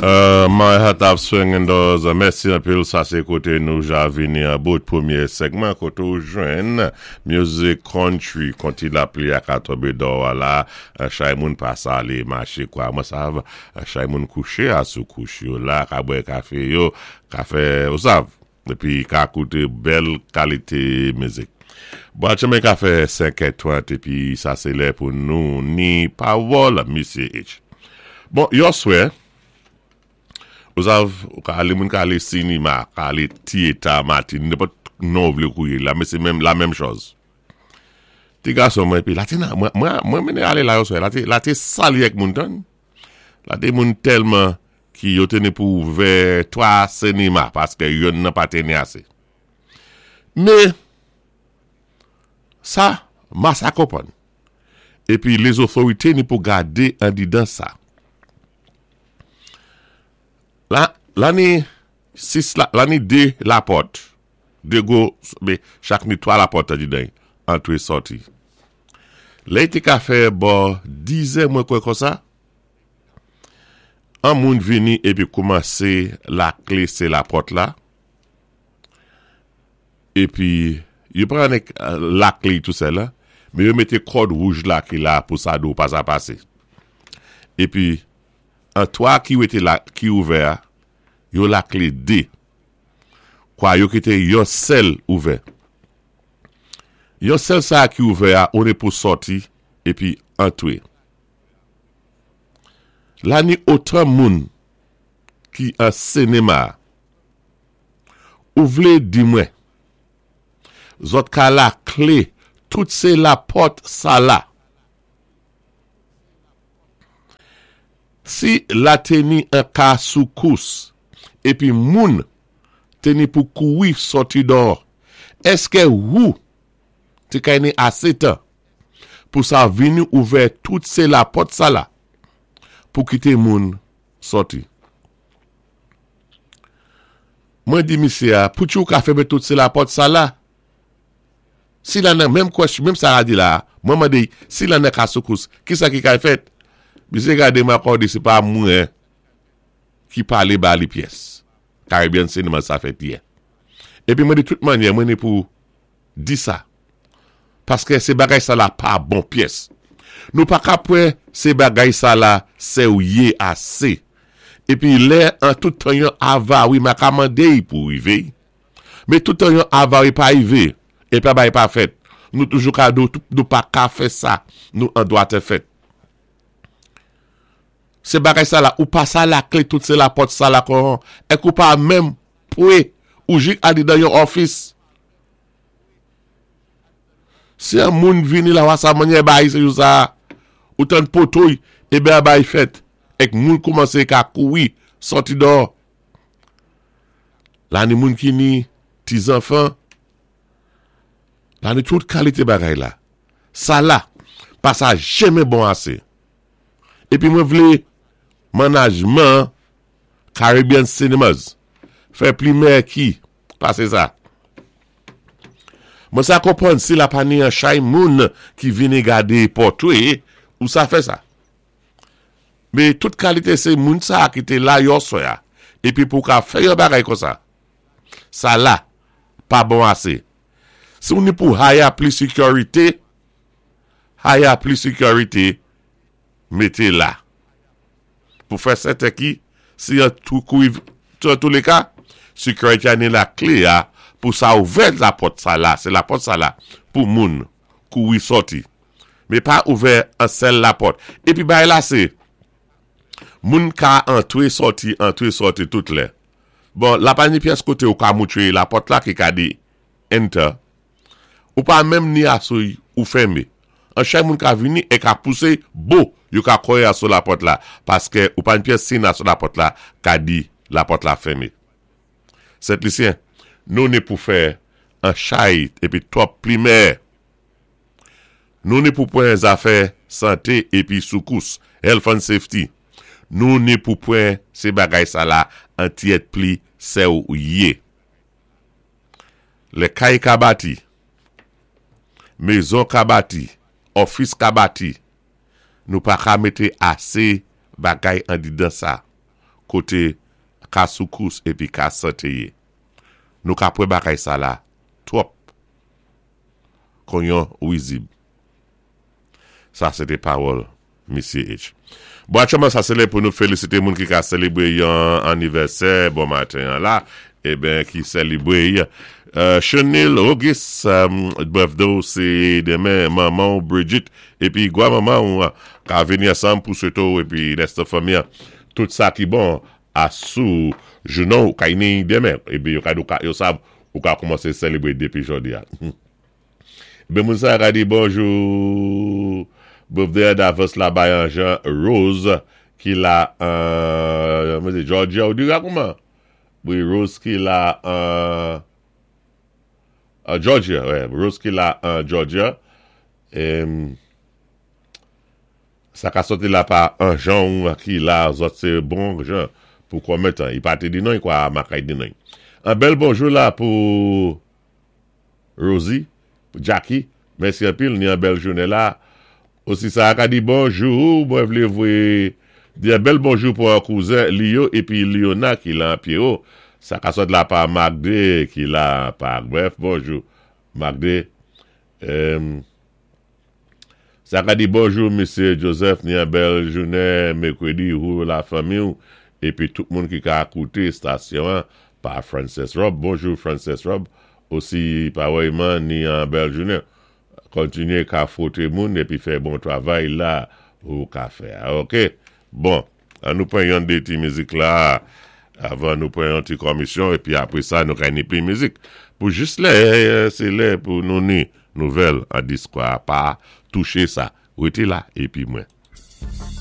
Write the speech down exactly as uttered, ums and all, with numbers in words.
Uh, My Heart Have Swinging Doors. Mèsi anpil. Sa sé koté nou ja vini an bout pwémyé segman koté ou jwenn music country konti lapli a ka tonbé dò la chay moun pa sa alé maché kwa mwen sav chay moun kouché a sou kouch yo la ka bwè kafé yo kafé ou sav épi ka kouté bèl kalité mizik. Bon, chemen ka fè senkè trant épi sa sé lè pou nou ni pawòl Misyé H. Bon, yòswè ou sav, ou ka alé moun ka alé sinima, ka alé theater matin, nenpòt non ou vlé kouwé la, men sé menm la menm chòz. Ti gason mwen épi, la té nan, mwen, mwen, mwen mennen alé la yòswè, la té, la té sali ak moun tan. La té moun tèlman ki yo té ni pou ouvè twa sinima, paské youn nan pa té ni asé. Men, sa, ma sa konpwann. Épi lézotorité ni pou gadé andidan sa. La, la ni sis la, la ni dé lapòt, dé gwo, mé chak ni twa lapòt andidan, antré sòti. Lè té ka fè bò dizè mwen kwè konsa, an moun vini épi koumansé laklé sé lapòt la, épi yo pran ek laklé tou sèl la, mé yo mété kòd wouj la ki la pou sa do pa sa pasé. Épi an twa ki wété la, ki ouvè, yo laklé dé. Kwa yo kité yon sèl ouvè. Yon sèl sa ki ouvè a, on é pou sòti épi antré. La ni otan moun ki an sinema. Ou vlé di mwen, zòt ka laklé, tout sé lapòt sa la. Si la té ni an ka soukous, épi moun té ni pou kouri sòti dò, èské ou té kay ni asé tan pou sa vini ouvè tout sé lapòt sa la pou kité moun sòti? Mwen di misyé a, pou ou ka fèmen tout sé lapòt sa la? Si la nan menm question, menm sa a di la, mwen mandé, si la nan ka soukous, ki sa ki kay fèt? Misyé gadé mwen ankò di sé pa mwen ki palé ba li pyès. Caribbean Cinema sa fèt yè. Épi mwen di tout mannyè, mwen ni pou di sa. Paské sé bagay sa la pa bon pyès. Nou pa ka pwan sé bagay sa la séwyé asé. Épi lè an tout tan yon avari ma ka mandé pou rivé. Mé tout tan yon avari pa rivé, épi bagay pa fèt. Nou toujou ka do, nou pa ka fè sa, nou an dwa té fèt. Sé bagay sa la, ou pa sa laklé tout sé lapòt sa la kon, èk ou pa menm pwé ou jik andidan yon office. Si an moun vini la wasa manyè bay se jou sa, ou tan potoy, ébé a bay fèt, èk moun koumansé ka kouri, sòti dò. La ni moun ki ni ti zanfan, la ni tout kalité bagay la. Sa la, pa sa jenmen bon asé. Épi mwen vlé manajman Caribbean Cinemas fè plimè ki pasé sa. Mwen sa konpwann si la pa ni an chay moun ki vini gadé pòtwé ou sa fè sa. Mé tout kalité sé moun sa ki té la yòswè a, épi pou ka fè yon bagay konsa. Sa la, pa bon asé. Si ou ni pou hire plis security, hire plis security, mété la. Pou fè sèten ki, si an tou kou, an tou lé ka, security a ni laklé a, pou sa ouvè lapòt sa la, sé lapòt sa la, pou moun kouri sòti. Mé pa ouvè an sèl lapòt. Épi bay la sé, moun ka antré sòti, antré sòti tout lè. Bon, la pa ni pyès koté ou ka moutré lapòt la ki ka di enter. Ou pa menm ni asou ou fèmé. An chay moun ka vini é ka pousé, bo, yo ka koyé asou lapòt la, paské ou pa ni pyès sin asou lapòt la, ka di lapòt la fèmé. Sent Lisyen, nou ni pou fè an chay épi twòp plimè. Nou ni pou pwan zafè santé épi soukous, health and safety. Nou ni pou pwan sé bagay sa la an tyèt pli séwyé. Lè kay ka bati, mézon ka bati, office ka bati, nou pa ka mété asé bagay andidan sa. Koté ka soukous épi ka santé yé. Nou ka pwan bagay sa la twòp kon yon wizib. Sa sé té pawòl Misyé H. Bon, aktyèlman sa sé lè pou nou félisité moun ki ka sélébwé yon anivèsè bon maten an la, eben ki sélébwé euh, Chenil August, um, birthday sé denmen manman Bridget épi gwa manman ka vini ansanm pou swété épi rès fanmi tout sa ki bon asou jounen ka ni denmen épi yo ka yo sav ou ka kòmansé sélébwé dépi jòdi a. Ben moun sa ka di bonjou birthday davans la bay an Jean Rose ki la an uh, Georgia ou di kouman? Wi, Rose ki la an uh, Georgia, wè, Rose ki la an Georgia. É, sa ka sòti la pa an Jean ki la zòt sé bon Jean pou konbyen tan. I pa té di non kwa makay di non. An bèl bonjou la pou Rosie, pou Jackie. Mèsi anpil, ni an bèl jounen la. Osi sa ka di bonjou, mwen vlé vwé di an bèl bonjou pou an kouzen Lio épi Liona ki la an Pierrot. Sa ka sòt la pa Magde ki la pa bref, bonjou Magde. Euh, sa ka di bonjou Mesye Joseph, ni an bèl jounen mèkwédi ou la fanmi épi tout moun ki ka kouté stasyon pa Frances Rob. Bonjou Frances Rob. Osi parèyman ni an bèl jounen. Kontinyé ka fwoté moun épi fè bon travay la ou ka fè. OK. Bon, an nou pran yon dé ti mizik la avan nou pran yon ti komisyon épi apwé sa nou ka ni pli mizik. Pou jis lè, sé lè pou nou ni nouvèl an dis kwa pa touché sa. Rété la épi mwen.